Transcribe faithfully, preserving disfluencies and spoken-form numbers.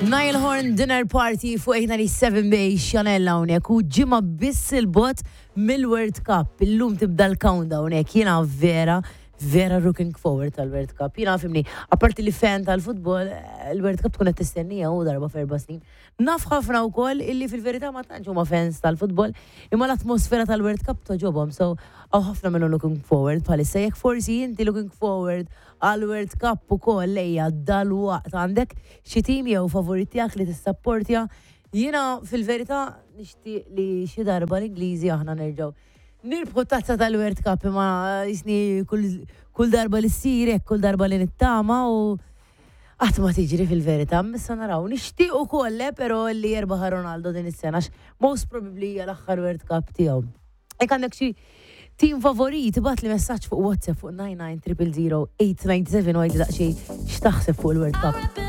Niall Horan Dinner Party fuq eight ninety-seven bay Chanel hawnhekk u ġimgħa biss 'il bogħod mill-World Cup. Illum tibda l-countdown hekk. Jiena vera vera looking forward tal-World Cup. Jiena fimni, apparti li fan tal-futbol, il-World Cup tkun qed tistennija u darba f'erba' snin. Naf ħafna wkoll illi fil-verità ma tantx huma fans tal-futbol, imma l-atmosfera tal-World Cup togħġobhom, so hawn ħafna minnu looking forward bħalissa. Jekk forsi inti looking forward għal World Cup ukoll, lejja dal-waqt għandek xi tim jew favorit tiegħek li tissapportja. Jiena fil-verità nixtieq li xi darba l-Ingliżi aħna nerġgħu nirbħu tazza tal-World Cup, imma jisni kull, kull darba li ssir hekk, kull darba li nittama u qatt ma tiġri fil-verità. Issa naraw. Nixtieq ukoll eh, però li jerbaħ Ronaldo din is-sena, għax most probably hija l-aħħar World Cup tiegħu. Jekk għandek xi team favorit, ibgħatli messaġġ fuq WhatsApp fuq nine nine zero zero eight nine seven u għidli daqsxejn x'taħseb fuq il-World Cup.